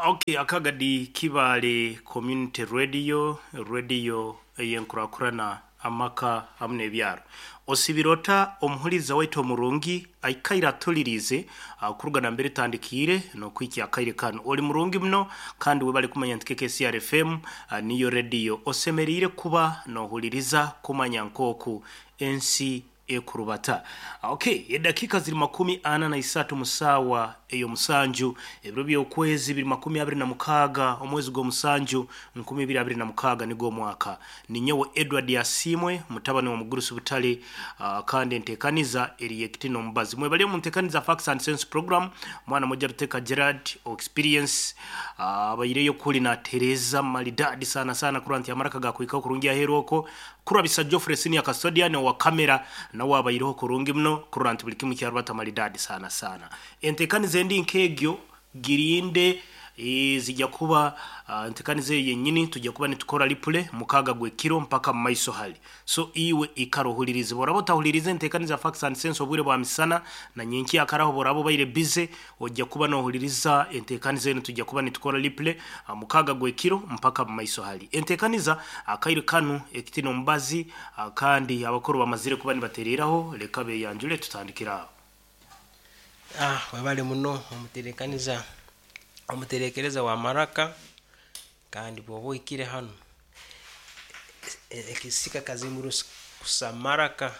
Okay, akagadi Kibaale Community Radio, radio ey'enkurakurana, amaka hamu n'ebyaro. Osibire ota omuhuririza waitu omurungi aikaire atuliriize kuruga nambere etandikiire n'okuhikya akaire kanu. Oli murungi muno kandi webale kumanya nti KKCR FM niyo radio osemeriire kuba nohuliriza kumanya nk'oku ensi ekurubata. Okay, edakiika ziri 43 mu saawa ey'omusanju, ebiro by'okwezi biri 26 omwezi gw'omusanju 2026 nigwo omwaka. Ninyowe Edward Asiimwe mutabani wa Mugurusi Butale kandi enteekaniza eri y'Ekitino Omubazi. Mwebale omu nteekaniza Facts and Sense program, mwana moja Ruteka Gerard Experience abaireyo kuli natereeza maridadi sana sana kurora nti amaraka gakuhikaho kurungi aheeru okwo. Kurabisa Geoffrey Senior Custodian owa camera nawe abaireho kurungi muno kurora nti buli kimu kyarubata maridadi sana sana. Entekaniza endi nk'egyo girinde zija kuba entekaniza eyo yenyini tujja kuba nitukora replay mukaaga gw'ekiro mpaka mu maiso hali. So iwe ikara ohulirize. Bworaba otahulirize entekaniza Facts and Sense obwire bwa misana na nyenkya akaraho bworaba obaire busy ojja kuba nohuliriza entekaniza enu tujja kuba nitukora replay mukaaga gw'ekiro mpaka mu maiso hali. Entekaniza akaire kanu ekitine omubazi kandi abakuru bamazire kuba nibatereraho leka beyanjule tutandikire aho. Ah, webale muno omuterekaniza omuterekereza wa maraka kandi bwoba ohikire hanu ekisika kazimuru kusa maraka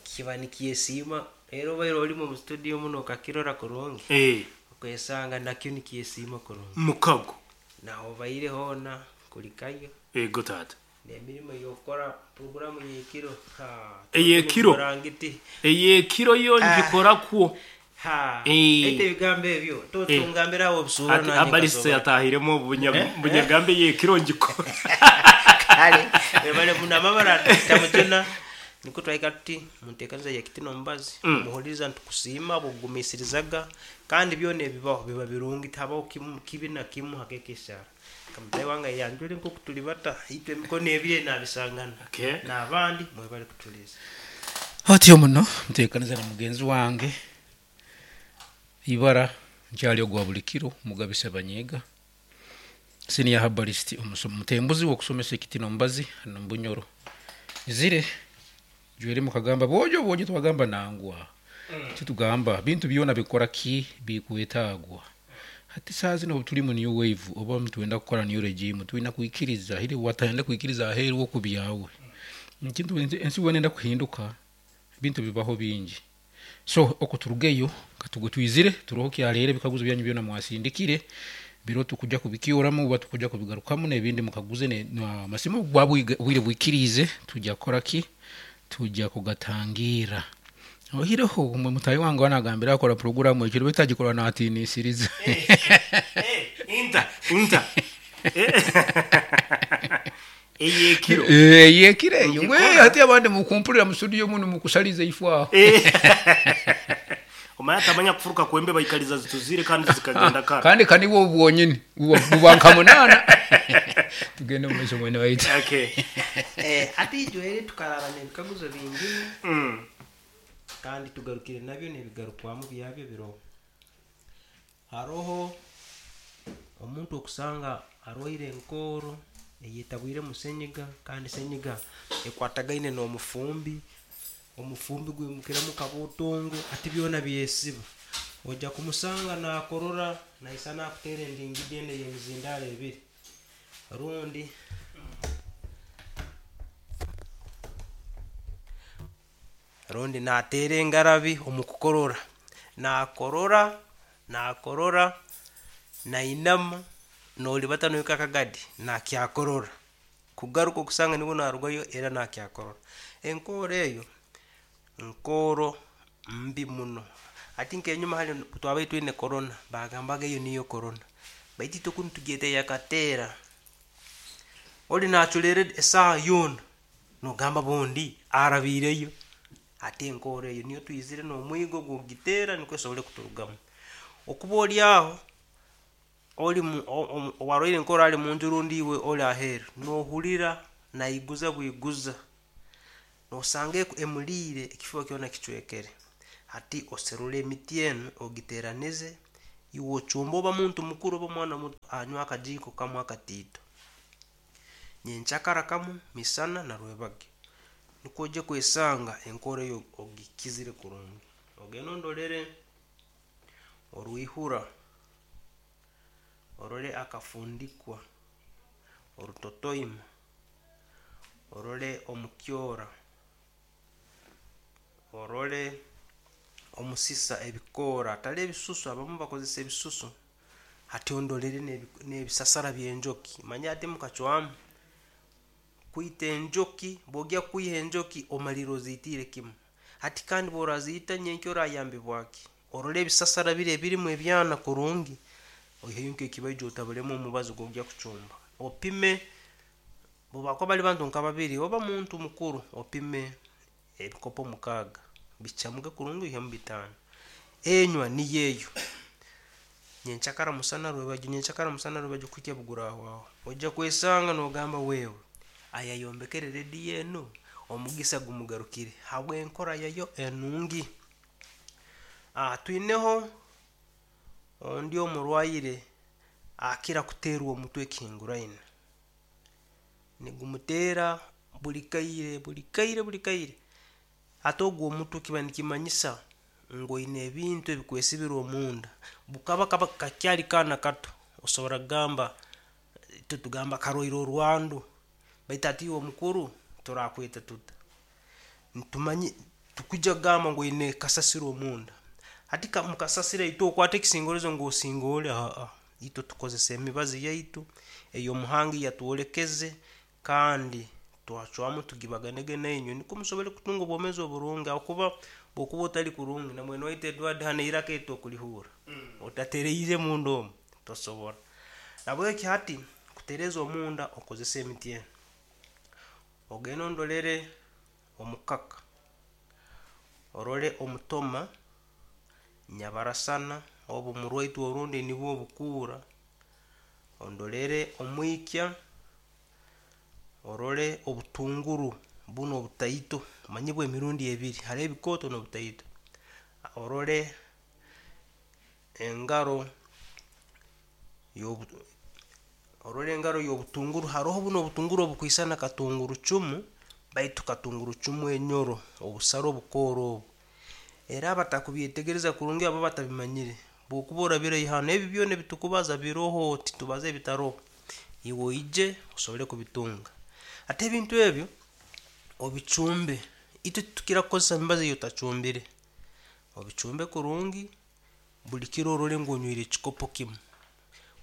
kiba nikyesiima era obaire olimu omu studio muno okakirora kurungi okwesanga nakyo nikyesiima kurungi. Mukago. Naho obaire hoona kulikayo. Ego taata. N'emirimo ey'okukora puroguramu y'ekiro ha Ey'ekiro? Murangiti. Ey'ekiro yo ngikora kwo. Ha. Eh. Ete ebigambo ebyo totungambira aho obusuura Ati abaliste yatahiremu obunya bunyagambe ey'ekiro ngikora. Kale webale muno amabara tamujuna nikwo twahika tuti munteekaniza y'ekitino omubazi muhuliriza nitukusiima habw'okugumiisirizaga kandi byona ebibaho biba birungi tihabaho kimu kibi na kimu hakekesara. Kamutahi wange ayanjule nkoku tuli bata itwe emikono ebiri eri nabisangana Okay. n'abandi mwebale kutuliza. Otyo muno nteekaniza na mugenzi wange ibara nkyali ogwa buli kiro Mugabe Sebanyiga senior herbalist omutembuzi w'okusomesa ekitino omubazi hanu omu Bunyoro. Izire jweri mukagamba bwojo bwojo twagamba nangwa titugamba bintu byona bikora ki bikwetagwa. Hati saaha zinu obu turi mu new wave oba nitwenda kukora new regime twina kwikiriza hiri watayenda kwikiriza aheeru okubyawe. Ekintu ensi weena enda kuhinduka ebintu bibaho bingi. So oku turugeyo katugwe twizire turoho kyaleero ebikaguzo byanyu byona mwasindikire biro tukuja kubikyoramu oba tukuja kubigarukamu n'ebindi mukaguze amasimu obu bukuba obwire bwikiriize tujja kukora ki? Tujja kugatangiira. Oihireho omwe mutaahi wange anagambira akora puroguramu ekiro beitu agikora natiinisiriza. Inta, inta. Ey'ekiro. Ey'ekiro eyo. Ngikora. We hati abandi mukumpurira mu studio munu mukusaliza ifo aho. Omanya atamanya kufuruka kwembe baikaliza zituzire kandi zikagenda kara. Kandi ka nibwo bwonyini buba nka munaana. Tugende omu maiso mwene waitu. Okay. Hati ijweri tukaraba n'ebikaguzo bingi kandi tugarukire nabyo n'ebigarukwamu byabyo biroho. Haroho omuntu okusanga arwaire enkooro eyetabwiremu senyiga kandi senyiga ekwatagaine n'omufumbi, omufumbi gwimukiramu kabuutungo hati byona byesiba. Oija kumusanga naakorora naisana akuteera endingidi enu ey'emizindaaro ebiri rundi rundi naateera engarabi omu kukorora. Naakorora, naakorora, nainama, noolibata nohika akagadi naakyakorora. Kugaruka okusanga nibwo naarugayo era naakyakorora. Enkooro eyo, nkooro mbi muno. Hati nk'enyuma hali obu twabaire twine korona, baagambaga eyo niyo korona. Baitu itwe kunu tugyeta ey'akateera. Ori naaculeera esaaha yoona, noogamba bundi arabiireyo. Hati enkooro eyo niyo twizire n'omwigo gw'okugiteera nikwo esobole kuturugamu. Okuba ori aho, ori owarwaire enkooro ali munju rundi iwe ori aheeru, noohurira naiguza bwiguza, noosanga emuliire ekifuba kyona kicwekere. Hati oserure emiti enu ogiteeranize. Iwe ocumbe oba muntu mukuru oba mwana muto anywe akajiiko kamwe akatiito. Nyenkyakara kamu, misana na rwebagyo. Nukwo oije kwesanga enkora eyo ogikizire kurungi. Ogende ondolere orwihura, orole akafundikwa, orutotoima, orole omukyora, orole omusisa ebikoora hatali ebisusu abamu bakozesa ebisusu hati ondolere n'ebisasara by'enjoki manya hati mukacwamu kwita enjoki bwogya kwiha enjoki omalirra oziitiire kimu hati kandi bworaziita nyenkya orayambibwa ki? Orole ebisasara biri ebirimu ebyana kurungi oiheyo nk'ekibaija otabulemu omubazi ogwogya kucumba opime obu bakuba bali bantu nka babiri oba muntu mukuru opime ebikopo mukaaga bicamuke kurungi oihemu bitaano. Enywa niyo eyo, nyenkyakara musana rwebagyo, nyenkyakara musana rwebagyo kuhikya obu gurahwaho. Oija kwesanga nogamba wewe ayayombekere rediyo enu omugisa gumugarukire habw'enkora yayo enungi. Twineho ondi omurwaire akira kuteerwa omutwe ekihinguraine. Nigumuteera buli kaire buli kaire buli kaire. Hati ogu omutwe kiba nikimanyisa ngu oine ebintu ebikwesibire omunda. Bukaba kaba kakyali kaana kato, osobora kugamba, itwe tugamba karwaire orwandu, baitu hati iwe omukuru turakweta tuta? Nitumanya, tukwija kugamba ngu oine kasasiro omunda. Hati omu kasasiro itwe okwata ekisingoorezo ngu osingoore, haa, itwe tukozesa emibazi yaitu ey'omuhangi yatwolekeze kandi twacwamu tugibaganege nainywe nukwo musobole kutunga obwomeezi oburungi habwokuba bwokuba otali kurungi na mwene waitu Edward hanu eiraka eri tokulihurra, otatereire munda omu tosobora. Nahabweki hati kutereeza omunda okozese emiti enu, ogende ondolere omukaka, orole omutoma, nyabarasana obu murwaitwe orundi nibwo obukuura, ondolere omwikya, orole obutunguru bunu obutaito omanyire bw'emirundi ebiri haroho ebikooto n'obutaito, orole engaro orole engaro y'obutunguru haroho bunu obutunguru obukwisana katungurucumu baitu katungurucumu enyoro obusara obukooro obu, era abatakubyetegereza kurungi abo abatabimanyire bwokuba orabire hanu ebi byona ebitukubaza biroho titubaza ebitaroho, iwe oije osobole kubitunga. Hati ebintu ebyo obicumbe, itwe titukira kukozesa emibazi ei otacumbire, obicumbe kurungi buli kiro orole ngu onywire ekikopo kimu,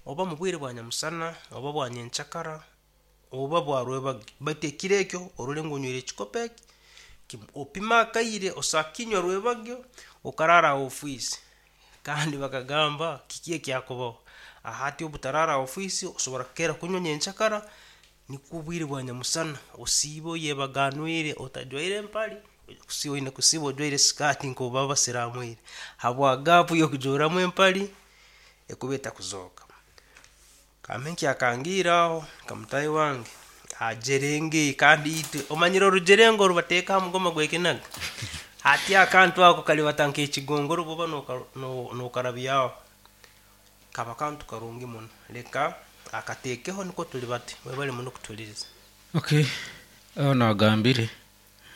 oba mubwire bwa nyamusana, oba bwa nyenkyakara, oba bwa rwebagyo, baitu ekiro ekyo orole ngu onywire ekikopo eki kimu. Opime akaire osobola kukinywa rwebagyo okaraara ha ofiisi kandi bakagamba kiki ekyakubaho, hati obu otaraara ha ofiisi osobora kukeera kunywa nyenkyakara nikwo obwire bwa nyamusana osiibe oyebaganwire otajwaire empare, oine kusiiba ojwaire sikaati nkoku baba basiramwire habwa gaapu y'okujuuramu empare ekuba etakuzooka. Kambe nkyakangiire aho nka mutaahi wange agyerenge kandi itwe omanyire orugyerenge orubateeka aha mugoma gw'ekinaga? Hati akantu ako karibata nk'ekigongoro bw'oba nokarabyaho, kaba kantu karungi muno. Leka akateekeho nikwo tulibate. Mwebale muno kutuhuliriza. Okay, aho nagambire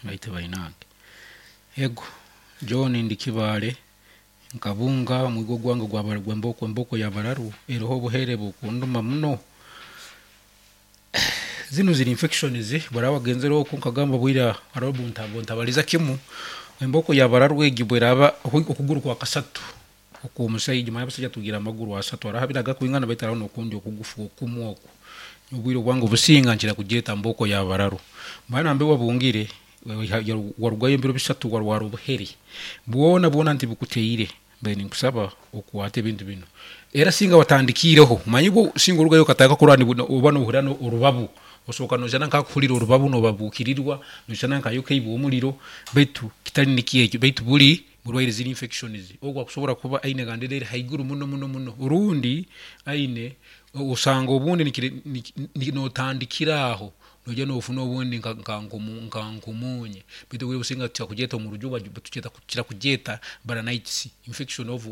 baitu bainange. Ego, John ndi Kibaale Nkabunga omwigo gwange gw'emboko emboko y'abararu eroho obuhere bukunduma muno. Zinu ziri infections bworaba wagenzere oku nkagamba bwira haroho obuntabaliza kimu emboko y'abararu egi bweraba okuguru kwa kasatu okw'omusaija omanyire abasaija tugira amaguru asatu haroho abiri agakwingana baitu haroho n'okundi okugufu okumu oku. Nyowe obwire obwange obusinga nkira kugyeta mboko y'abararu. Mara nambere wabungire Warugayo ebiro bisatu warwara obuhere bwona bwona ntibukuteire mbaire ninkusaba okwate ebintu binu era singa watandikiireho manya bwo singa orugayo okatandika kurwara oba nohurira orubabu osooka noshana nkakuhurira orubabu nobabukirirwa noshana nkayokeibwe omuriro baitu kitari nikyo ekyo baitu buri burwaire ziri infections ogu akusobora kuba aine gandira eri haiguru muno muno muno rundi aine osanga obundi notandikira aho Noija nofuna obundi nka nkomunye baitu obwire obusinga tukira kugyeta omu rujungu tukira kugyeta balanitis, infection of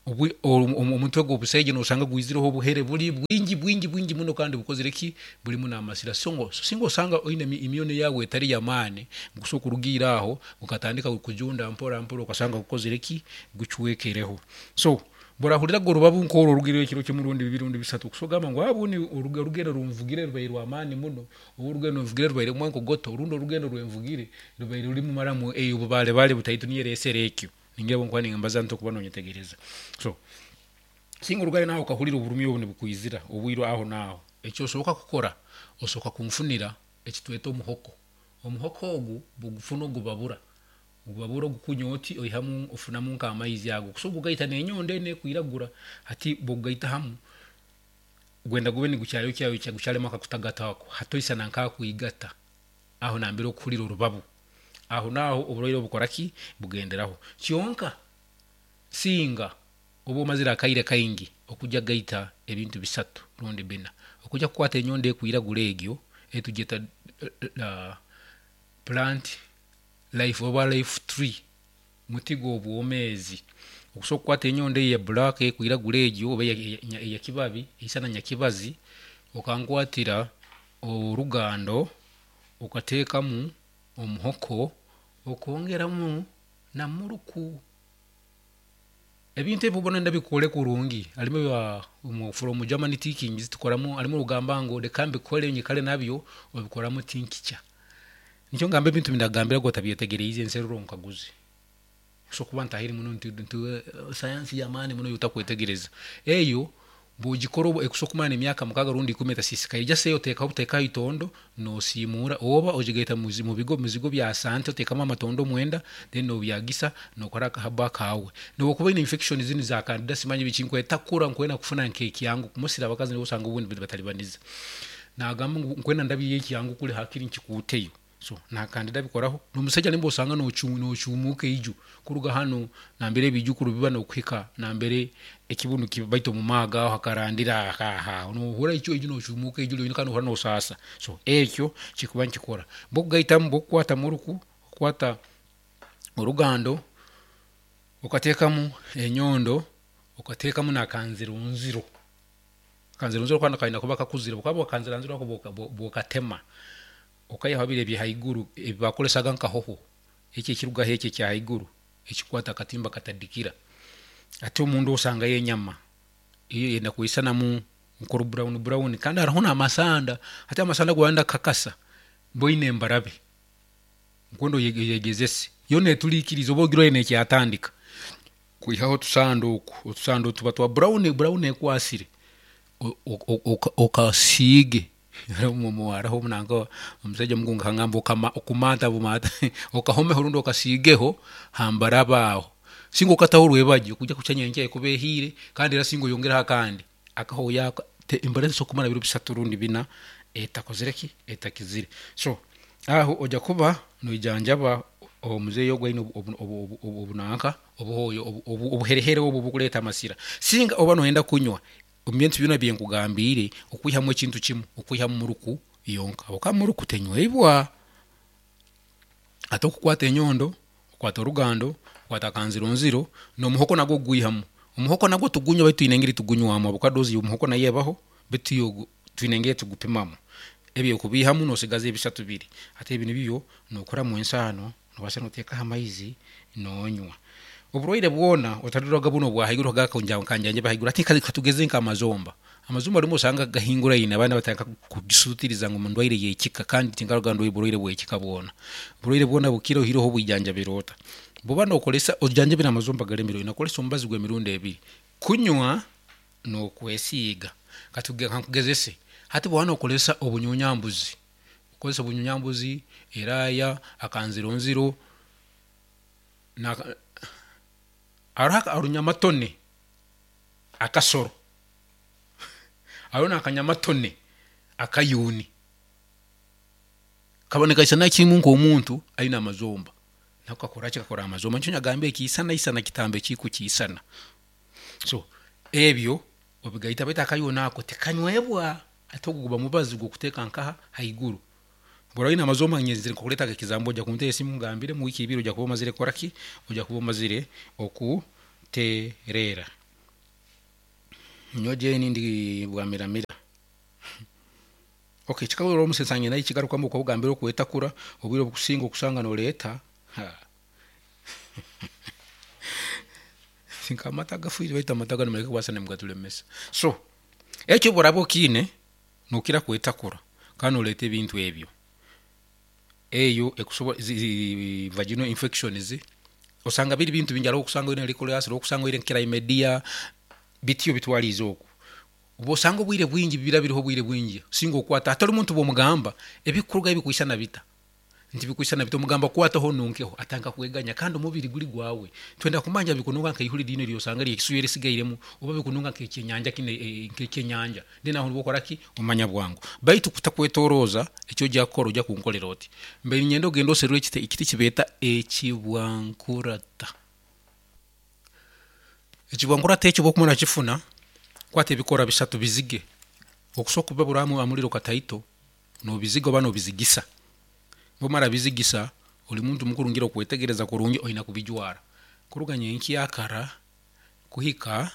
Omutwe gw'obusaija nosanga gwizireho obuhere buri bwingi bwingi bwingi muno kandi bukozire ki? Burimu n'amasira. So singa osanga oine immune yaawe etari y'amaani, gukusobola kurugiira aho gukatandika kujunda mpora mpora okasanga gukozire ki? Gucwekereho. So borahuriraga orubabu nk'oru orugireho ekiro kimwe rundi bibiri rundi bisatu, kusobora kugamba ngu obundi orugendo runvugire rubaire rw'amaani muno, oba orugendo nvugire rubaire rumu enkogoto, rundi orugendo rwenvugire rubaire rurimu maramu obubaale butaito niyo eresere ekyo. Ningira obu nkuba nimbaza nti okuba nonyetegereza. So, singa orugayo naawe okahurira oburumi obu nibukwizira obwire aho naaho, eki osoboka kukora, osoboka kunfunira eki tweta omuhoko. Omuhoko ogu bwogufuna ogubabura, ogubabura ogukunya oti oihamu ofunamu nk'amaizi ago. Okusobola kugaita n'enyondo enu ekwiragura, hati bwokugaita hamu, gwenda gube nigukyayokya gukyarimu akakutagata ako, hati oisana nk'akwigata aho nambere okuhurira orubabu. Aho naaho oburwaire bukora ki? Bugenderaho. Kyonka singa oba omazire akaire kaingi okujya gaita ebintu bisatu rundi bina, okujya kukwata enyondo ekwiragura egyo etugyeta plant life oba life tree, muti gw'obwomeezi. Okusobola kukwata enyondo eyo eya black ekwiragura egyo oba eyakibabi eisana nyakibazi, okankwatira orugando okateekamu omuhoko okwongeramu na muruku. Ebintu ebi obona ndabikore kurungi harimu ebya from Germany teachings tukoramu harimu orugamba ngu reka mbikore nyikare nabyo obikoramu tincture. Nikyo ngamba ebintu ebindakugambira gwe otabyetegeriize nserura onkaguze. Nsobola kuba ntahire muno nti sayansi y'amaani muno ei otakwetegereza. Eyo bw'ogikora ekusobola kumara n'emyaka mukaaga rundi ikumi etasisikaire. Just eyo oteekaho buteeka aha itondo noosiimuura oba ogigaita mu bizigo bya sante oteekamu amatondo omwenda then nobyagisa nokora akahabo akaawe. N'obu okuba oine infection zinu za candida simanyi biki nkwetakura nkwenda kufuna nk'ekyangu mostly abakazi nibo osanga obundi nibatalibaniza. Nagamba ngu nkwenda ndabyeyo ekyangu kuri hakiri nkikuuteyo. So na candida abikoraho. N'omusaija nimba osanga nocuumuuka eiju kuruga hanu nambere ebiijukuru biba n'okuhika nambere ekibunu kiba baitu omu maago aho hakarandira aho nohurra eiju nocuumuuka eiju ryonyini kandi nohurra nosaasa. So ekyo kikuba nikikora. Bwokugaitamu bwokukwata muruku, okukwata orugando, okateekamu enyondo, okateekamu na kanzironziro. Akanzironziro kanu kaine kuba kakuzire, bwokaba akanzironziro ako bwokatema okaihaho biri ebyahaiguru ebi bakoresaga nka hoho, eki ekirugaho eki ekyahaiguru ekikwata akatimba katadikira. Hati omunda osangayo enyama eyo eyenda kwisanamu nkoru brown brown kandi hariho n'amasanda. Hati amasanda ago wayenda kukakasa boine embarabe nkwenda oyegyezese yo neturikiriza oba ogirora nekyatandika kwihaho otusanda oku, otusanda tuba twa brown brown ekwasire okasiige hariho nanka omusaija omukungu akangamba okumanta bumanta okahomeho rundi okasiigeho ha mbaraba aho singa okataho orwebagyo kwija kukya nyenkya ekuba ehiire kandi era singa oyongereho akandi akahooyo ako embara tesobola kumara ebiro bisatu rundi bina etakozire ki? Etakizire. So aho oija kuba noijanjaba omuzeeyi ogu aine obunanka obuhooyo obuherehere obu obukureeta amasira. Singa oba noyenda kunywa omu bintu byona ebinkugambiire okwihamu ekintu kimwe, okwihamu muruku yonka ahabw'okuba muruku tenywebwa. Hati okukwata enyondo, okwata orugando, okwata akanzironziro, n'omuhoko nagwo ogwihamu. Omuhoko nagwo tugunywa baitu twine engeri tugunywamu ahabw'okuba doozi y'omuhoko nayo ebaho baitu yo twine engeri tugupimamu. Ebyo okubiihamu noosigaza ebishatu biri. Hati ebi nibyo nookoramu ensaano, noobaasa nooteekaho amaizi noonywa. Oburwaire bwona otarirwaga bunu obwa haiguru nkanjanjaba haiguru hati katugeze nk'amazomba. Amazomba rimwe osanga gahinguraine abandi batandika kugisutiriza ngu ndwaire y'ekika kandi tinkaruga ngu burwaire bw'ekika bwona. Oburwaire bwona bukira oihireho obwijanjabire ota? Bwoba nokoresa ojanjabire amazomba garemire oine kukoresa omubazi gw'emirundi ebiri, kunywa n'okwesiiga. Kankugezese, hati bwoba nokoresa obunyunyambuzi, okozesa obunyunyambuzi, eraaya, akanzironziro, hariho orunyamatone, akasoro, hariho n'akanyamatone akayuni, kaba nikaisana kimwe nk'omuntu aine amazomba, nako kakora ki? Kakora amazomba. Nikyo nagambire kiisanaisana kitambo ekikukiisana. So ebyo obigaita baitu akayuni ako tikanywebwa, hati ogwo guba mubazi gw'okuteeka nkaha? Haiguru. Bw'oraba oine amazomba nyenzire nkukureeta ekizambo oija kunteera esimu ngambire omu wiiki ibiri oija kuba omazire kukora ki? Oija kuba omazire okutereera. Nyowe Jane ndi Bwamiramira. Okay, kikabura omusensange naye kigarukamu okugambira okwetakura obwire obukusinga okusanga noleeta ha. Nka amata agafiire baitu amata ganu muleke kubaasa nimugaturemesa. So ekyo obu oraaba okiine nokira kwetakura kandi noleeta ebintu ebyo. Eyo ekusobo zi vaginal infections osanga biri bintu bingi hariho okusanga oine liquorous hariho okusanga oine chlamydia bityo bitwariize okwo. Obu osanga obwire bwingi bira biriho obwire bwingi singa okwata hati ori muntu bwomugamba ebikurugayo bikwisana bita? Nti bikwisana bita omugamba kwataho onunkeho atandika kweganya kandi omubiri guri gwawe. Twenda kumanya bikununka nkeihuri rinu eryosanga eryekisuyu erisigairemu oba bikununka nkekyenyanja kinu nkekyenyanja then aho nibwo okora ki? Omanya bwangu. Baitu kutakwetoroza eki oja kukora oja kunkorera oti mbaire niinyenda ogende oserure ekiti ekiti ekibeeta ekibwankurata. Ekibwankurata ekyo obu okumara kukifuna, kwata ebikoora bisatu bizige. Okusobola kubibabura aha muriro kataito, nobiziga oba nobizigisa. Bwomara bizigisa, ori muntu mukuru ngira okwetegereza kurungi oine kubijwara kuruga nyenkyakara kuhika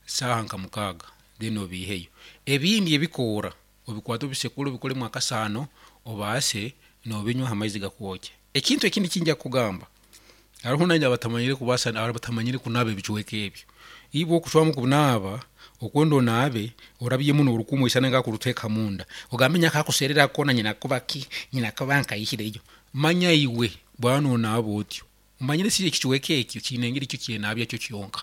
saaha nka mukaaga then obiiheyo. Ebindi ebikoora obikwate obisekure obikoremu akasaano obaase nobinywa aha maizi gakwokya. Ekintu ekindi eki nja kukugamba, hariho nainye abatamanyire kubaasa abatamanyire kunaaba ebicweka ebyo. Iwe okucwamu kunaaba, okwenda onaabe, orabyemu norukumu oisane nkakuruteeka munda. Ogambe nyowe akakuseerera koona nyina kuba ki, nyina kuba nkaihireyo. Manya iwe bwaba nonaaba otyo, omanyire si ekicweka ekyo kiine engeri kyo kyenaabya kyo kyonka.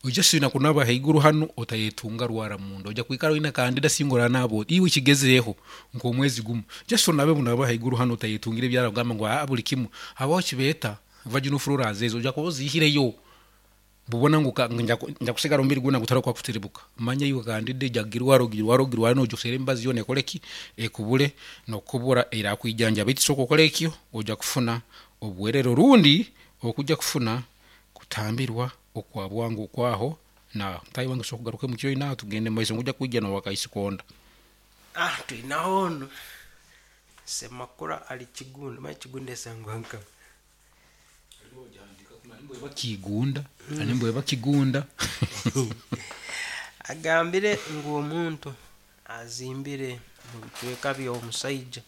Oija siina kunaaba haiguru hanu otayetunga rwara munda. Oija kwikara oine kandida singa oranaaba oti. Iwe kigezeeho nk'omwezi gumu. Just onabe bunaaba haiguru hanu otayetungira ebyara kugamba ngu aa buri kimwe. Habaho ekibeeta vaginal floras ezo oija kuba oziihireyo. Bubona ngu nja kusigara omubiri gwona gutari kwakutiribuka. Manya iwe kandida eija kugirwara ogirware ogirware noija oseere emibazi yoona ekore ki? Ekubure nokukubura erakwijanjaba. Baitu sooka okore ekyo oija kufuna obwerere orundi okuja kufuna kutambirwa okwa bwangu okwaho naaho. Mutaahi wange soka ogaruke omu kyoina aho tugende mumaiso ngu oija kwija nowakaisikonda. Ah twinaho onu Semakula ali Kigunda, manya Kigunda esangwa nkaha? Kigunda, nimbu Kigunda. Agambire ngu omuntu azimbire omu bicweka by'omusaija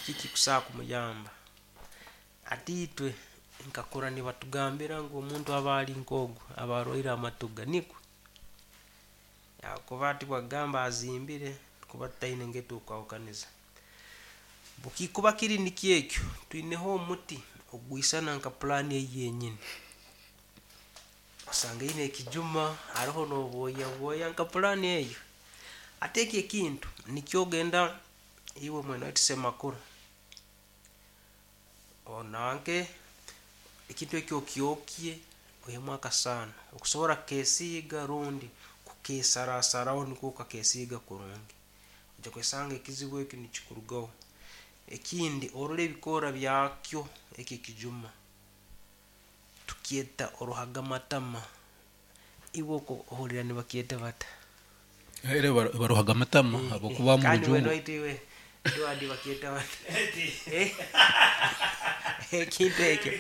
kiki ekikusobora kumuyamba? Hati itwe nkakura nibatugambira ngu omuntu aba ali nk'ogu aba arwaire amatuga nikwo? Habwokuba hati bwakugamba azimbire tukuba tutaine engeri turukwahukaniza. Bukikuba kiri nikyo ekyo, twineho omuti ogwisana nka pulaani egi yenyini. Osanga eine ekijuma haroho n'obwoya bwoya nka pulaani eyo. Hati eki ekintu nikyo ogenda iwe mwene waitu Semakula, onanke ekintu eki okyokye oihemu akasaano okusobora kukesiiga rundi kukesarasaraho nukwo okakesiiga kurungi. Oija kwesanga ekizibu eki nikikurugaho. Ekindi orole ebikoora byakyo eki ekijuma, tukyeta oruhagamatama. Iwe oko ohurra nibakyeta bata? Era baruhaga amatama habwokuba omu Kandi rujungu. mwene waitu iwe Edward bakyeta bata? Ekintu ekyo.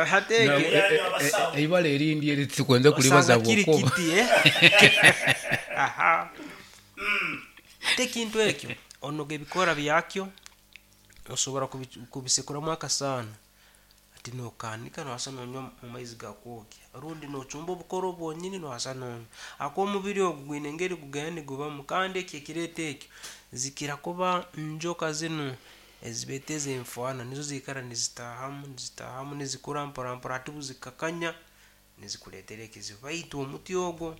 Hati ekyo Eibara erindi eri titukwenda kuribaza osanga kiri habwokuba. kiti eh? Aha. Hati ekintu ekyo onoga ebikoora byakyo, osobora kubisekuramu akasaano. Hati nokaanika nobaasa nonywa omu maizi gakwokya rundi nochumba obukoro bwonyini nobaasa nonywa. Ahakuba omubiri ogu gwine engeri gugenda nigubamu kandi eki ekireeta ekyo zikira kuba njoka zinu ezibeeta ez'enfwana nizo ziikara nizitaahamu nizitaahamu nizikura mpora mpora hati obu zikakanya nizikuleetera ekizibu. Baitu omuti ogwo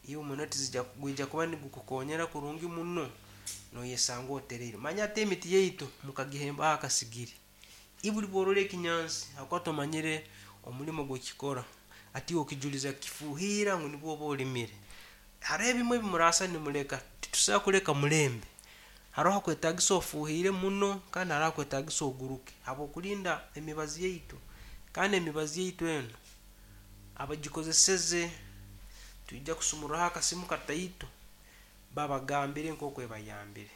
iwe muno tizija gwija kuba nigukukonyera kurungi muno noyesanga otereire. Manya hati emiti yaitu mukagihembaho akasigiri. Ibuli bworora ekinyansi habwokuba tomanyire omulimo gwekikora, hati iwe okijuliza kukifuuhiira ngu nibwo oba olimire. Haroho ebimu ebi muraasa nimuleka, titusobora kuleka mulembe. Haroho hakwetagisa ofuuhiire muno kandi haroho hakwetagisa oguruke habw'okulinda emibazi yaitu. Kandi emibazi yaitu enu abagikozeseze twija kusumurraho akasimu kataito babagambire nk'oku ebayambire.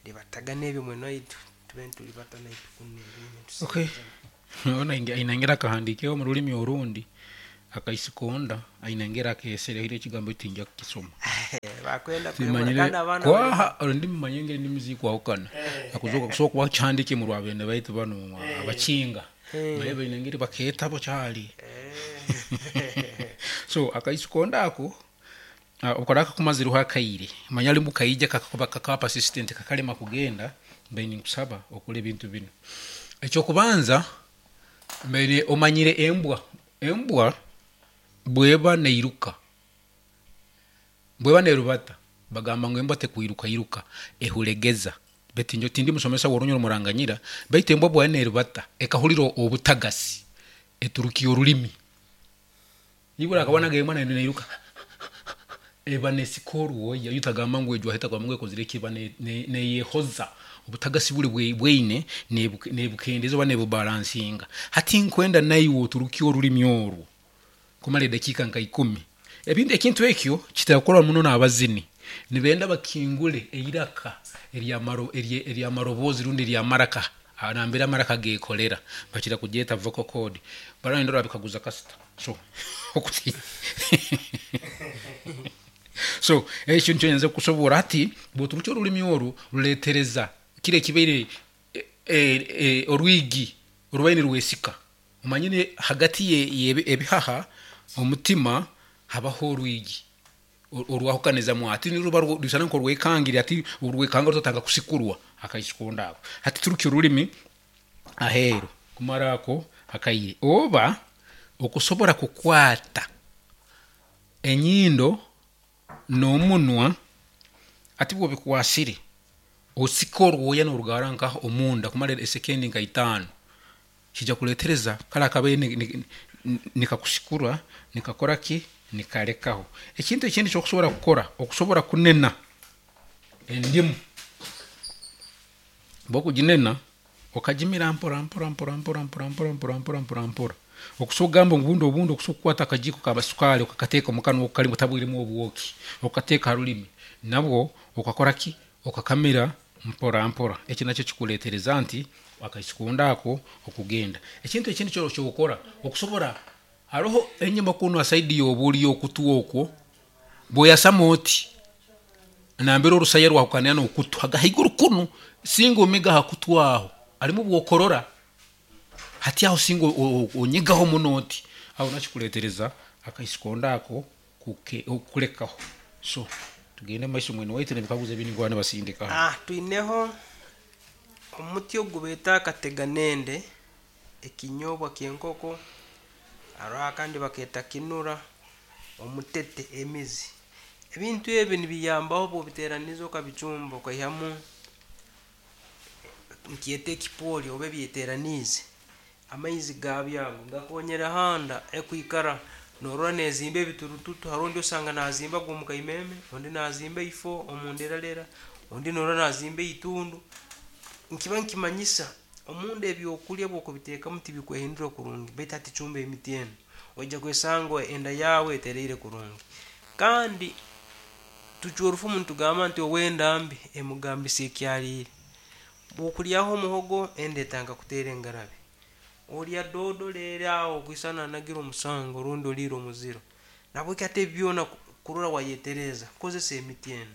Libatagana ebyo mwene waitu tube nitulibata naitwe kunu ebindi Okay. nitusemeza. Ona aine engeri akahandiikireho omu rurimi orundi. Akaisikonda aine engeri akeesere hire ekigambo eki tinja kukisoma. Bakwenda kuhemura Timanyire kandi abaana bari kwaha ndi mumanye engeri endimi zikwahukana. Akuzoka kusobola kuba kihandike mu rwabende baitu bano abakinga naye baine engeri bakeetabo kyali. So akaisikonda ako okaraka kumazireho akaire manya alimu kaija kakakuba kakaba persistent kakalema kugenda, mbaire ninkusaba okora ebintu binu. Ekyokubanza, mbaire omanyire embwa bweba neiruka, bweba nerubata, bagamba ngu embwa tekwiruka iruka ehuregeza. Baitu nyowe tindi musomesa w'orunyoro muranganyira, baitu embwa bweba nerubata ekahurira obutagasi eturukia orulimi. Ibura akabonaga embwa neiruka eba nesika orwoya, yo tagamba ngu ejwahi, tagamba ngu ekozire ki, eba neyehoza obutagasi buri bweine nebukendeza oba nebubalansinga. Hati nkwenda naiwe oturukie orulimi orwo kumara edakiika nka 10. Ebintu ekintu ekyo kitera muno n'abazini nibenda bakingule eiraka eryamaroboozi rundi eryamaraka nambere amaraka gekolera, bakira kugyeta vocal cord, barenda orabikaguza kasita. So so ekyo nikyo nyenze kukusoborra. Hati bwoturukya orulimi oru ruletereza kiri ekibaire orwigi orubaire nirwesika. Omanyire hagati y'ebihaha omutima habaho orwigi orwahukanizamu, hati niruba rusana nkorwekangire, hati orwekanga rutotanga kusikurwa akaisikonda ako. Hati turukya orulimi aheeru kumara ako akaire, oba okusobora kukwata enyindo n'omunwa. Hati bwobikwasire osika orwoya norugara nkaha omunda kumara esekendi nka 5, kija kuletereza kara akabaire nikakusikura nikakora ki, nikalekaho. Ekintu ekindi ekyokusobora kukora, okusobora kunena endimu, bwokuginena okagimira mpora mpora mpora mpora mpora mpora mpora mpora mpora mpora, okusobola kugamba ngu obundi okusobola kukwata akajiko ka sukari okakateeka omukanwa kalimu tabwiremu obwoki, okateeka ha rulimi nabwo okakora ki, okakamira mpora mpora. Eki nakyo kikuletereza nti akaisikonda ako okugenda. Ekintu ekindi kyokora, okusobora haroho enyuma kunu ha saidi y'obulyo okutu okwo, bwoyasama oti nambere orusaya rwahukanira n'okutu haiguru kunu, singa omiga ha kutu aho harimu bwokorora, hati aho singa onyigaho muno oti aho nakikuletereza akaisikonda ako okulekaho. So tugende mumaiso mwene waitu n'ebikaguzo ebindi nkuba nibasindika hanu. Twineho omuti ogu beeta akateganende, ekinyobwa ky'enkoko, hariho akandi bakeeta kinura, omutete, emizi. Ebintu ebi nibiyambaho bw'obiteeraniza okabicumba okaihamu nkyeta ekipori oba ebyeteraniize, amaizi gabyo ago gakonyera handa ekwikara norora nezimba ebiturututu. Haroho ondi osanga nazimba gwomukaimeme, ondi nazimba eifo omunderalera, ondi norora nazimba eitundu. Nkiba nkimanyisa omunda ebyokulya bwokubiteekamu tibikwehindura kurungi, baitu hati cumba emiti enu oija kwesanga enda yaawe etereire kurungi. Kandi tucwa orufumu nitugamba nti ow'enda mbi emugambisa ekyaliire. Bwokulyaho omuhogo enda etandika kuteera engarabi, olya doodo leero aho okwisana anagire omusango rundi oliire omuziro. Nahabweki hati ebi byona kurora wayetereeza kozesa emiti enu.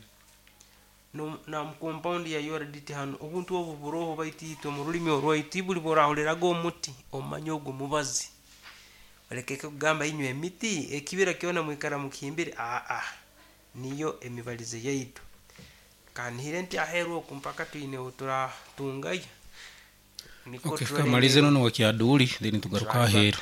Na mu compound ya URDT hanu obuntu obu buroho, baitu itwe omu rulimi orwaitu buli bworahuriraga omuti omanye ogu mubazi. Olekeke kugamba inywe emiti ekibira kyona mwikara mukihimbire, aa niyo emibalize yaitu. Kanihire nti aheeru oku mpaka twine turatungayo. Niko Okay, turole kamalize engeri nono wa Kyaduri, then tugaruka turalibata. aheeru.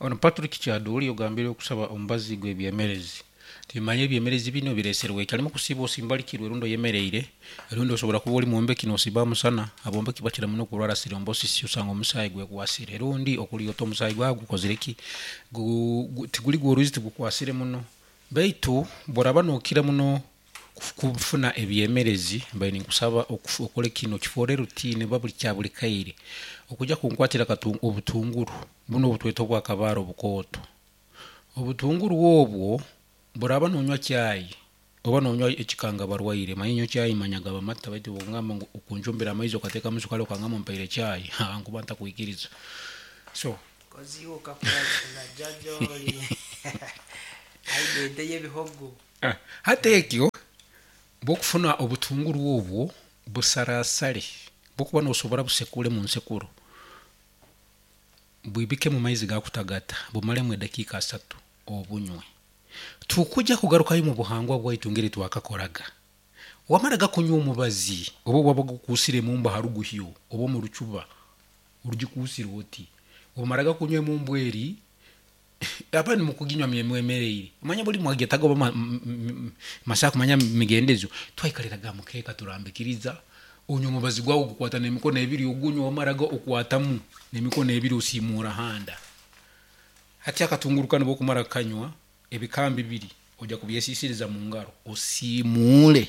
Ono Patrick Kyaduri ogambire okusaba omubazi gw'ebyemerezi. Timanye ebyemerezi bino bireserwe ki, harimu kusiiba osimbalikirwe rundi oyemereire, rundi osobora kuba ori mwombeki nosiiba aha musana. Abombeki bakira muno kurwara thrombosis, osanga omusaayi gwekwasire, rundi okurya ota omusaayi gwawe gukozire ki, tiguri gw'orwizi tigukwasire muno. Baitu bworaba nokira muno kufuna ebyemerezi, mbaire ninkusaba okore kino kifoore routine oba buri kya buri kaire okuja kunkwatira obutunguru buno obutweta obwakabaare obukooto. Obutunguru obwo boraba nonywa chai oba nonywa ekikanga barwaire, manya nyowe chai manya gaba mata, baitu bwongamba ngu okunjumbira amaizi okateekamu sukari okangamba ompaire chai, nkuba ntakwikiriza. So Kozi iwe okakura na jaaja ori aine ente y'ebihogo. Hati ekyo bwokufuna obutunguru obwo busarasare bwokuba nosobora busekure munsekuro bwibike mumaizi gakutagata bumaremu edakiika asatu obunywe. Tukujja kugarukayo mubuhangwa bwaitu ngeri twakakoraga. Wamaraga kunywa omubazi oba wabaga okuusire emumbu haruguhyo oba omurucuba orugikuusire oti obumaraga kunywa emumbu eri abandi mukuginywa mwemereire omanya buli mwagetaga oba masaha kumanya migendezo twaikaliraga ahamukeeka turambikiriza onywa omubazi gwawe ogukwata nemikono ebiri ogunywa wamaraga okwatamu nemikono ebiri osiimuura handa. Hati akatunguru kanu bwokumara kukanywa ebikambi biri oja kubyesisiriza mungaro osiimuule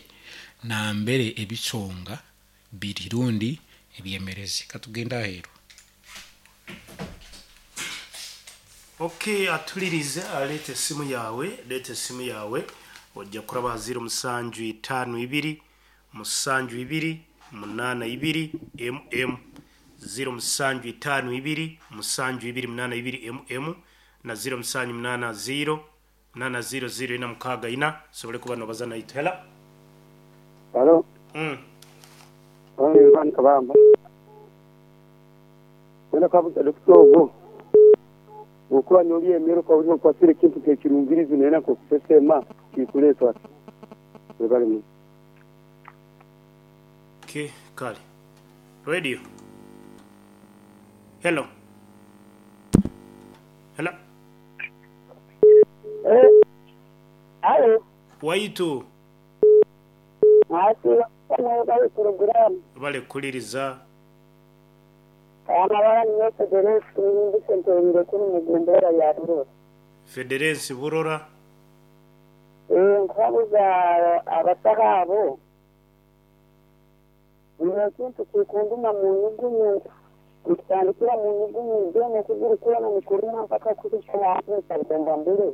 nambere ebisonga biri rundi ebyemerezi. Katugende aheeru. Ok atulirize leeta esimu yaawe, leeta esimu yaawe ojja kuraba ha ziro musanju itaano ibiri, musanju ibiri, munaana ibiri, MM, ziro musanju itaano ibiri, musanju ibiri, munaana ibiri, MM na ziro musanju munaana ziro, munaana ziro ziro ina mukaaga ina osobole kuba nobaza naitwe. Hello. Halo. Owange Ivan Kabamba. Wena kabuza dokita ogwo bwokuba nolya emere okahurira okwasire ekintu nk'ekirungirizi nayenda nk'okusesema kikuleetwa ki? Webale muno. Okay, kale. Radio. Hello. Hello. Alo. Waitu. Mwasiiba mutya mwebale puroguraamu. Webale kuhuliriza. Amabara niinye Federensi Niimbisa ntereire kunu mu gomborora ya Burora. Federensi Burora. Eeh nkuhabuza abasaho abo, nyine ekintu kikunduma mu nyugunyu, nikitandikira mu nyugunyu then okuguru kwona nikuruma mpaka kuhika ahansi nsabwa mbure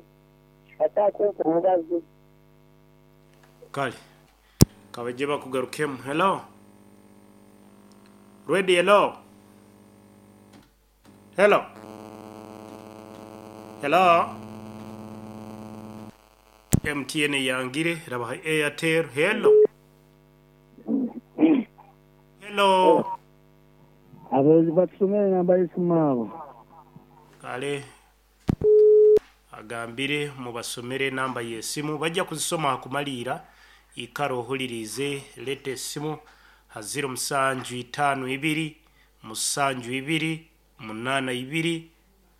bataha kumpa omubazi. Kale kabaije bakugarukemu. Hello Radio hello Hello Hello MTN eyangire rabaha Airtel hello Hello Abarozi batusomere enamba y'esimu abo. Kale agambire mubasomere enamba y'esimu bajja kuzisoma ha kumaliira ikara ohuliriize leeta esimu ha ziro musanju itaano ibiri musanju ibiri munaana ibiri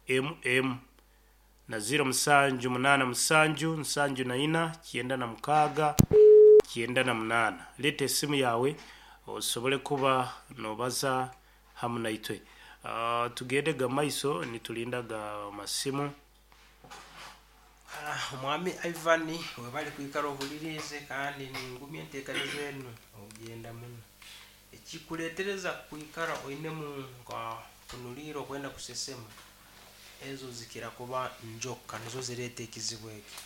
MM na ziro musanju munaana musanju nsanju na ina kyenda na mukaaga kyenda na munaana. Leeta esimu yaawe osobole kuba nobaza hamu naitwe. Tugende maiso nitulinda ga masimu. Omwami Ivan webale kwikara ohuliriize kandi ningumya enteekaniza enu ogyenda muno. Ekikuleetereza kwikara oinemu nka kunuliira okwenda kusesema, ezo zikira kuba njoka nizo zireeta ekizibu eki.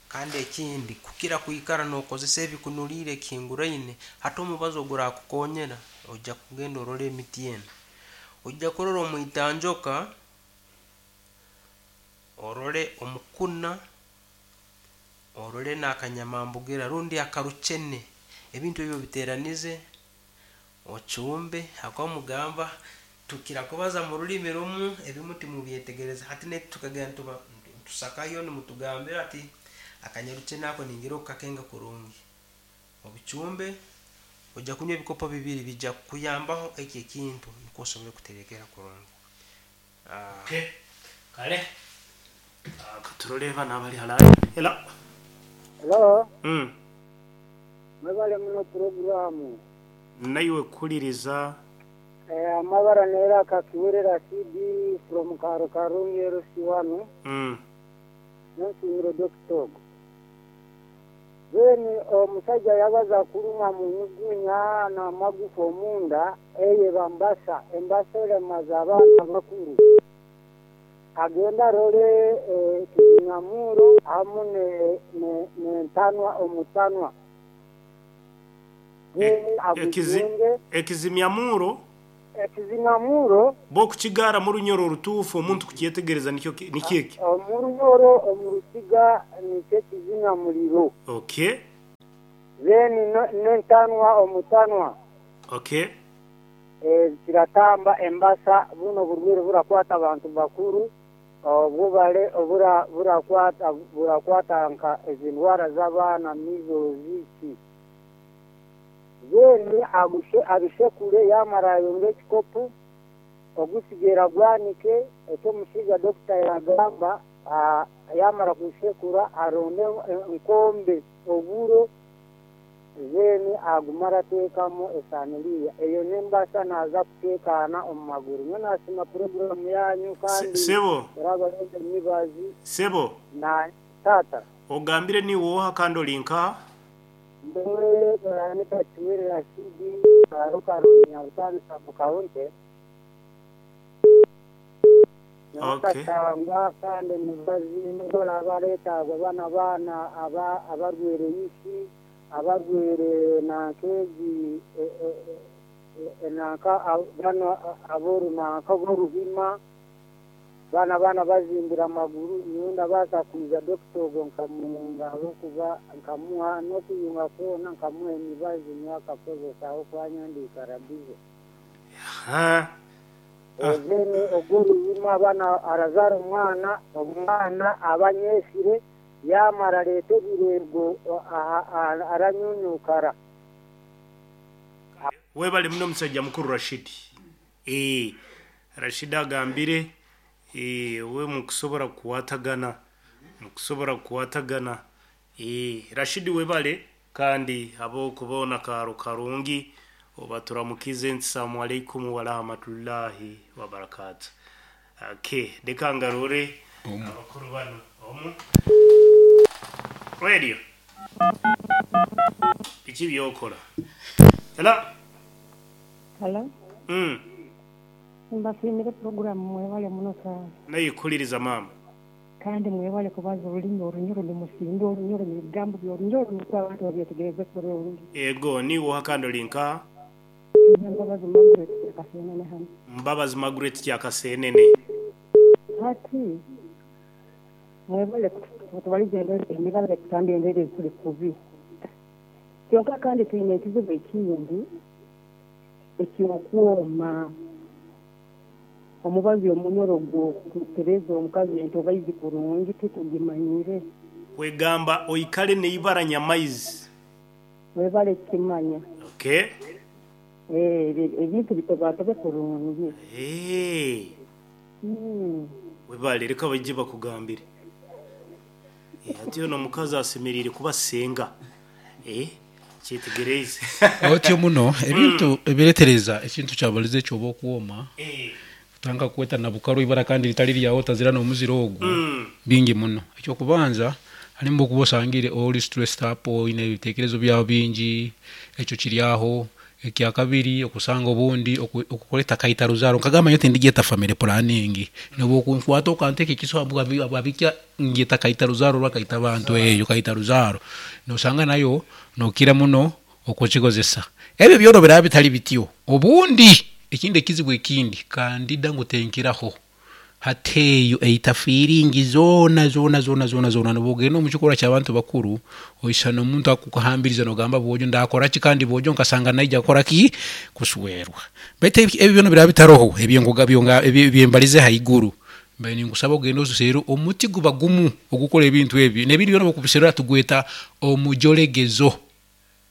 Kandi ekindi kukira kwikara nokozesa ebikunuliire ekihinguraine, hati omubazi ogurakukonyera oija kugenda orole emiti enu. Oija kurora omwitanjoka, orole omukuna, orole n'akanyamambugira rundi akarucene. Ebintu ebi obiteranize, ocumbe habwokuba mugamba tukira kubaza mu rulimi rumu ebimu timubyetegereza. Hati naitwe tukagenda tuba tusakayo nimutugambira ati akanyarucene ako ningira okukakenga kurungi. Obicumbe, oija kunywa ebikopo bibiri bijja kukuyambaho eki ekintu nukwo osobole kuterekerra kurungi. Okay. Kale katurole bano abali ha line. Hello. Hello. Mwebale muno puroguraamu. Naiwe kuhuliriza. Amabara n'eiraka Kiwere Rashid from Kaaro Karungi LC1. Nensiimire Dokita ogu. Then omusaija yabaza kurumwa munyugunya n'amagufa omunda eyo eba mbasa, embasa eremaza abaana abakuru. Agende arole ekizinyamuuro hamu n'entanwa omutanwa. Then agujunge. Ekizimyamuuro? Ekizinamurro. Bo okukigaara mu Runyoro orutuufu omuntu kukyetegereza nikyo nikyo eki? Omu Runyoro omu Rukiga nikyo ekizinamuriro. Okay. Then n'entanwa omutanwa. Okay. Kiratamba embasa bunu oburwaire burakwata abantu bakuru obwo bure burakwata burakwata nka ezi ndwara z'abaana measles ki. Then abishekure yamara ayonge ekikopo ogusigaire agwanike eki omushaija doctor yagamba yamara kushekura aronde enkombe oburo then agume arateekamu esaniriya eyo nembasa naza kuteekaana omu maguru. Nyowe nasiima puroguramu yanyu kandi Sebo. orabaronda emibazi Sebo. na taata. Ogambire niiwe oha kandi ori nkaha? Nyowe Baranika Kiwere Rashidi, Kaaro Karungi Nyabutambi Sub County. Nyowe Okay. nkashangwa kandi emibazi nibo abareetaagwa banu abaana aba abarwaire ishi, abarwaire nanka egi e- e- e- e- nanka banu ab'orunanka ab'oruhima. Banu abaana bazimbire amaguru, nyowe ndabaasa kwija dokita ogwo nkamuyunga ahabw'okuba nkamuha n'okuyunga kwona nkamuha emibazi nyowe akakozesa ahabw'okuba nyowe ndiikara bize. Then ogwo oruhima aba arazaara omwana, omwana aba anyeesire, yaamara areeta ebireego aranyuunyuukara. Webale muno musajja mukuru Rashid. Eeh Rashid agambire eeh we mukusobora kukwatagana mukusobora kukwatagana eeh Rashid webale kandi habwokuba akaaro karungi obaturamukize nti Salamu alaikum warahmatullahi wabarakatuh. Okay, reka ngarure abakuru banu omu radio. Biki byokora? Hello? Hello. Mbasiimire puroguramu mwebale muno sana. Nayikuliriza maama. Kandi mwebale kubaza orulimi Orunyoro nimusinga Orunyoro n'ebigambo by'Orunyoro nukwo abantu babyetegereze kurungi. Ego, niiwe oha kandi ori nkaha? Nyowe Mbabazi Margaret Kyakaseenene hanu. Mbabazi Margaret Kyakaseenene. Hati mwebale kutubaliza endwaire ekutamba endwaire ezituri kubi. Kyonka kandi twine ekizibu ekindi eky'okwoma. Omubazi omunyoro gw'okutereeza omukazi entobaizi kurungi titugimanyire. Kwegamba oikare n'eibara nyamaizi. Webale kukimanya. Okay. Ebintu bitobatobe kurungi. Eeh. Webale reka baije bakugambire. Hati hoona omukazi asemereire kuba senga. Eh, kyetegereize. Otyo muno ebintu ebiretereza ekintu kyabarize ekyo oba okwoma kutandika kukweta nabukaru ibara kandi ritari ryawe otazira n'omuziro ogu bingi muno. Ekyokubanza harimu okuba osangire ori stressed up oine ebitekerezo byawe bingi ekyo kiri aho. Ekyakabiri okusanga obundi okukoreta kaita ruzaaro nkagamba nyowe tindigyeta family planning nobu okunkwata okanteeka ekiso ahabwa ngyeta kaita ruzaaro rwa kaita bantu eyo kaita ruzaaro nosanga nayo nokira muno okukikozesa. Ebyo byona biraba bitari bityo obundi ekindi ekizibu ekindi kandida ngu tenkiraho Hati eyo eita fiiringi zoona zoona zoona zoona zoona. Nobu ogenda omu kikorwa ky'abantu bakuru, oisana omuntu akukuhambiriza nogamba bwojo ndakora ki kandi bwojo nkasanga naija kukora ki? Kuswerwa. Baitu ebyo byona biraba bitaroho, ebi mbalize haiguru, mbaire ninkusaba ogende oserre omuti guba gumu ogukora ebintu ebi, n'ebindi byona obu okubiserra tugweta omujolegezo.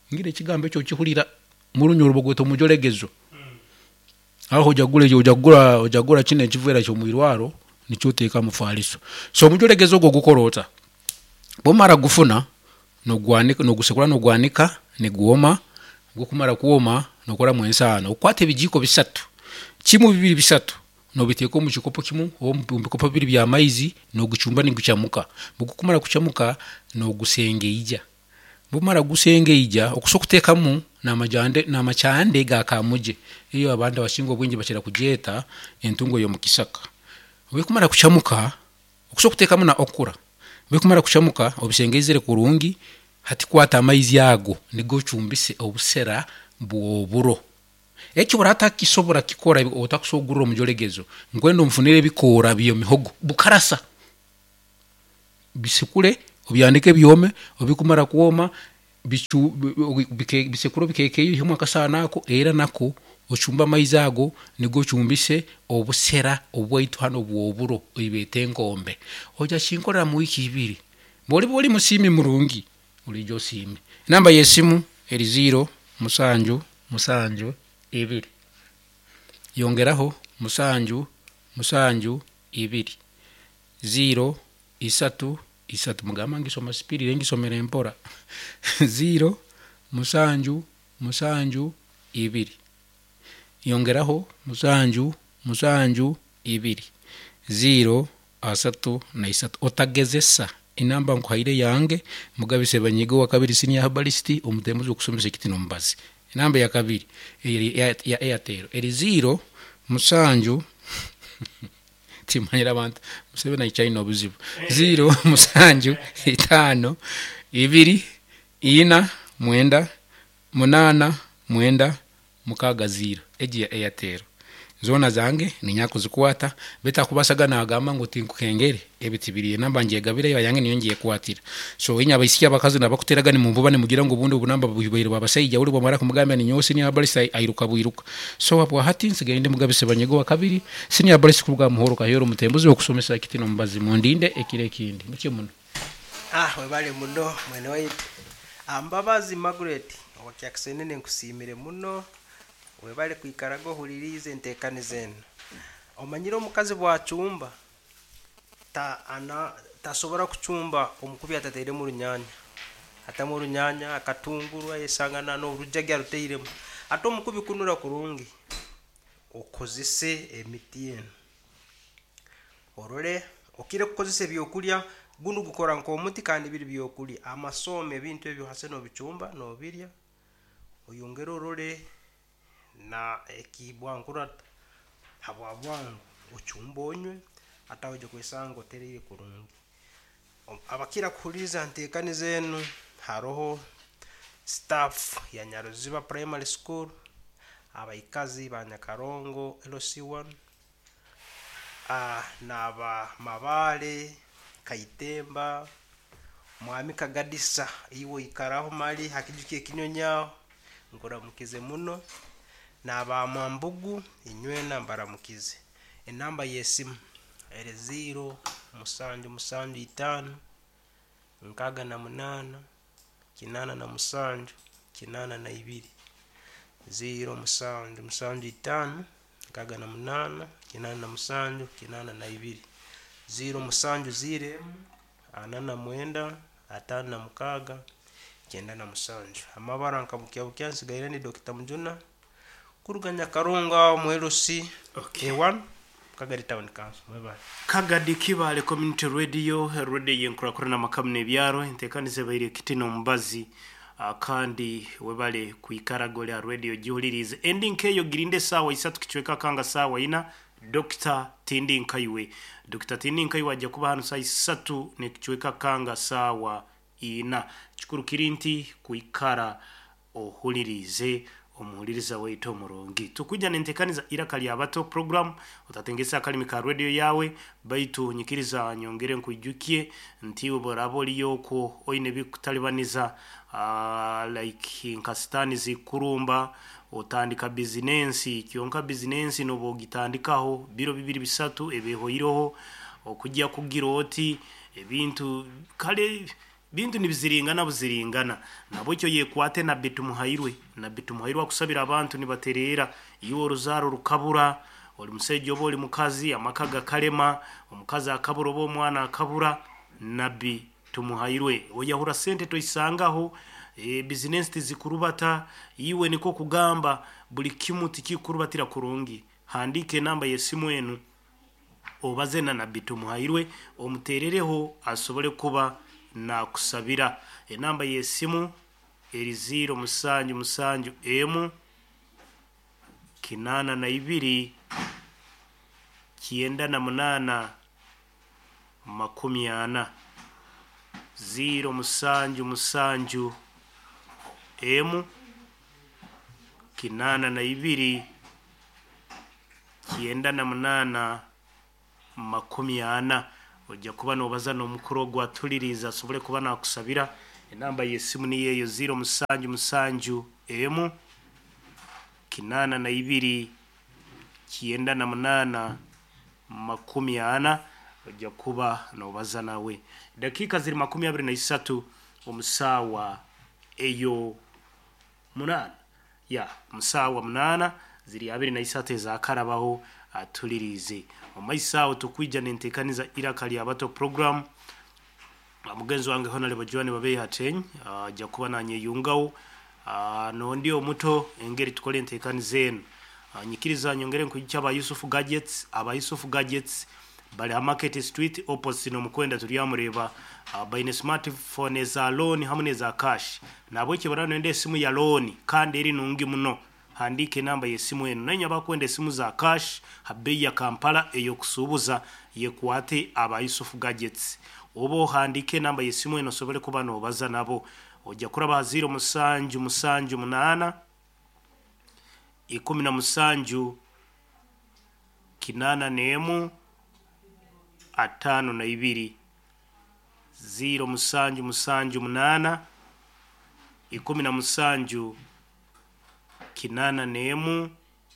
Ngira ekigambo ekyo okihurira, murunyoro bagweta omujolegezo. Aho oja kugura oja kugura oja kugura kinu ekiveera ky'omwirwaro nikyo oteeka aha mufaaliso. So omujolegezo ogwo gukora ota? Bwomara kugufuna, nogwanika nogusekura nogwanika nigwoma, gukumara kwoma nokoramu ensaano. Okwata ebijiiko bisatu, kimu bibiri bisatu nobiteeka omu kikopo kimu oba omu bikopo bibiri by'amaizi nogucumba nigucamuka. Bwigukumara kucamuka nogusengeija. Bwomara kugusengeija, okusa okuteekamu n'amakyande ga kaamugye, ei abantu abasinga obwingi bakira kugyeta entungo y'omu kisaka. Burikumara kucamuka, okusa okuteekamu na okura, burikumara kucamuka obisengeizire kurungi, hati kwata amaizi ago nigo ocumbise obusera bw'oburo. Eki oratakisobora kikora otakusobora kugurra omujolegezo, nkwenda onfunire ebikoora by'emihogo bukarasa, bisekure obyandike byome, obu bikumara kwoma bicu bisekure obikekeeye oihemu akasaano ako era nako ocumbe amaizi ago nigo ocumbise obusera obwaitu hanu obw'oburo oibeeta enkombe. Oija kinkorera mu wiiki ibiri. Bwoliba oli musiimi murungi, oliija osiime. Enamba y'esimu eri ziiro musanju musanju ibiri yongeraho musanju musanju ibiri ziiro isatu isatu. Mugamba ngisoma speed ngisomere mpora. Ziiro musanju musanju ibiri yongeraho musanju musanju ibiri ziiro asatu na isatu. Otagezesa enamba nkuhaire yange Mugabe Sebanyiga owa kabiri senior herbalist omutembuzi okusomesa ekiti n'omubazi. Enamba ya kabiri eri ya Airtel eri ziiro musanju timanyire abantu Museveni aikyaine obuzibu. Ziiro musanju itaano ibiri ina mwenda munaana mwenda mukaaga ziiro. Egi ya Airtel. Zoona zange niinya kuzikwata beitu akubasaga naagamba ngu tinkukengere ebi tibiriyo enamba ngyegabire yange niyo ngyekwatira. So inywe abaisiki abakazi nabakuteraga nimunvuba nimugira ngu obundi obunamba bubaire bwa basaija ori bwamara kumugambira ninyowe senior herbalist airuka bwiruka. So habwahati nsigaire ndi Mugabe Sebanyiga owa kabiri senior herbalist kuruga aha Muhoro Kaheero omutembuzi w'okusomesa ekiti n'omubazi. Mundinde ekiro ekindi. Mutyo muno. Ah webale muno mwene waitu. Ah, Mbabazi Margaret owa Kyakisenene nkusiimire muno webale kwikaraga ohuririize enteekaniza enu. Omanyire omukazi bwacumba ta ana tasobora kucumba omukubi atatairemu orunyanya. Atamu orunyanya, akatunguru ayesanga na n'orujagi arutairemu. Ate omukubi kunura kurungi okozese emiti enu. Orole okire kukozesa ebyokurya gunu gukora nk'omuti kandi biri byokurya. Amasooma ebintu ebyo hase n'obicumba n'obirya oyongere orole na ekibwankurata habwa bwangu ocumbe onywe ate aho oija kwesanga otereire kurungi. Abakira kuhuliriza nteekaniza enu haroho staff ya Nyaruziba Primary School, abaikazi ba Nyakarongo LC1, n'aba Mabaale, Kaitemba, Mwami Kagadisa iwe oikaraho mali ha kiju ky'ekinyonyi aho nkuramukize muno, n'aba Mwambugu inywena mbaramukize. Enamba y'esimu eri ziiro musanju musanju itaano nkaaga na munaana kinaana na musanju kinaana na ibiri. Ziiro musanju musanju itaano nkaaga na munaana kinaana na musanju kinaana na ibiri. Ziiro musanju ziiro emu ana na mwenda ataano na mukaaga kyenda na musanju. Amabara nka bukya bukya nsigaire ndi Dr. Mujuna kuruga Nyakarongo aho mu LC Okay. A1 Kagadi Town Council. Mwebale. Kagadi Kibale Community Radio, radio yenkurakurana amakamu n'ebyaro, enteekaniza ebaire ekiti n'omubazi kandi webale kwikaraga ori aha radio gihuririize. Endi nkeeyo girinde esaawa isatu kicweka kanga saawa ina Dr. Tindi Nkaiwe. Dr. Tindi Nkaiwe ajja kuba hanu saa isatu n'ekicweka kanga saawa ina. Kikuru kiri nti kwikara ohuririize omuhuririza waitu omurungi. Tukwija nentekaniza iraka lya bato program otatengesa akalimi ka radio yawe baitu nyikiriza nyongere nkwijukie nti oboraba oriyo okwo oine ebikutalibaniza like nka sitaani zikurumba otandika bizinensi kyonka bizinensi noba ogitandikaho biro bibiri bisatu ebehoireho okujya kugira oti ebintu kale bintu nibiziringana buziringana nabwekyo yekwate nabbi tumuhairwe nabbi tumuhairwe akusabira abantu nibatereera iwe oruzaaro rukabura oli musaija oba oli mukazi amaka gakalema omukazi akabura oba omwana akabura nabbi tumuhairwe oyahura sente toisangaho e, bizinensi tizikurubata iwe niko kugamba buli kimu tikikurubatira kurungi handika enamba y'esimu enu obaze na nabbi tumuhairwe omuteerereho asobole kuba nakusabira. Enamba y'esimu eri ziiro musanju musanju emu kinaana na ibiri kyenda na munaana makumi ana. Ziiro musanju musanju emu 82 98 40. Ojja kuba nobaza n'omukuru ogwo atuliriza asobole kuba nakusabira. Enamba y'essimu niyo eyo 077 emu 82 98 40. Ojja kuba nobaza nawe. Dakiika ziri 23 omusaawa eyo 8 ya musaawa 8 ziri 23 ezakarabaho atulirize omaiso awo tukwija nentekaniza Iraka Lya Bato program. Mugenzi wange Honorable Joan Babeyi Hateny ajja kuba nanyeyungawo nondi omuto engeri tukole entekaniza eno. Nyikiriza nyongere nkujukya aba Yusufu Gadgets. Aba Yusufu Gadgets bali ha Market Street opposite n'omukwenda turyamureba. Baine smartphone eza loan hamu n'eza cash, nabwekyo baraba nibenda esimu ya loan kandi eri nungi muno, handiika enamba y'esimu eno. Nainywe abakwenda esimu za cash ha bei ya Kampala ey'okusuubuza, yekwate aba Yusufu Gadgets, oba ohandiike enamba y'esimu eno osobole kuba nobaza nabo. Ojja kuraba ha 0778 17 81 52, 0778 17 81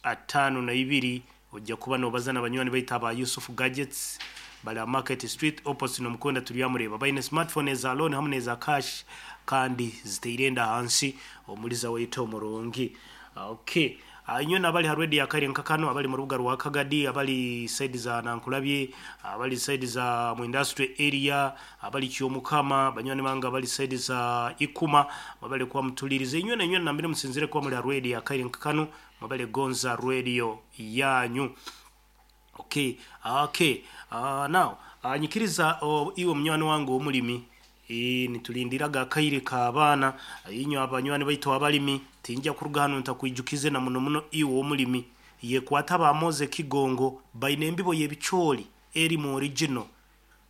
52. Ojja kuba nobaza n'abanywani baitu aba Yusufu Gadgets bali ha Market Street opposite n'omukwenda turyamureba. Baine smartphone eza loan hamu n'eza cash kandi ziteire enda hansi omuliza waitu omurungi. Okay, inywe nabali ha radio akaire nkakano, abali mu rubuga rwa Kagadi, abali side za Nankulabye, abali side za mu industry area, abali Kyomukama, banywani bange abali side za Ikuma, mwabale kuba mutulirize. Inywe na inywe nambire musinzire kuba muli ha radio akaire nkakano, mwabale gonza radio yanyu. Okay, okay. Now nyikiriza iwe munywani wange omulimi, nitulindiraga akaire k'abaana. Inywe abanywani baitu abalimi, tinja kuruga hano ntakwijukize na muno muno iwe omulimi yekwata abamoze Kigongo. Baine embibo y'ebicooli eri mu original,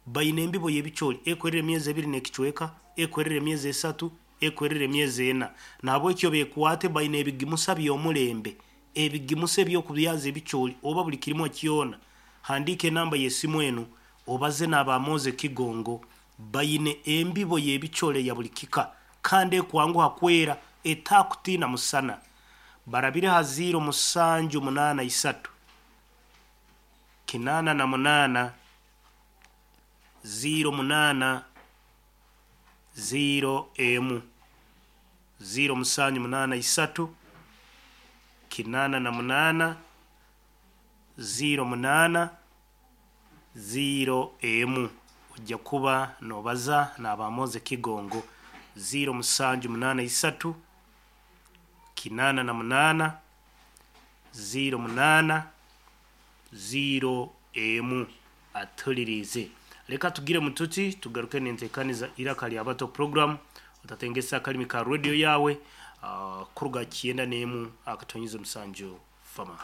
baine embibo y'ebicooli ekwerera emyezi 2 n'ekicweka, ekwerera emyezi 3, ekwerera emyezi 4. Nahabwekyo bekwate, baine ebigimusa by'omulembe, ebigimusa eby'okubyaza ebicooli oba buli kirimwa kyona. Handiika enamba y'esimu eno obaze n'abamoze Kigongo. Baine embibo y'ebicooli ya buli kika kandi ekwanguha kwera, etakutiina musana. Barabire ha 0783 88 08 0 emu, 0783 88 08 0 emu. Ojja kuba nobaza n'abamoze Kigongo 0783 88 08 0 emu. Atulirize. Leka tugire mututi tugaruke nentekaniza Iraka Lya Bato program. Otatengesa akalimi ka radio yawe. Kuruga 91.7 fama.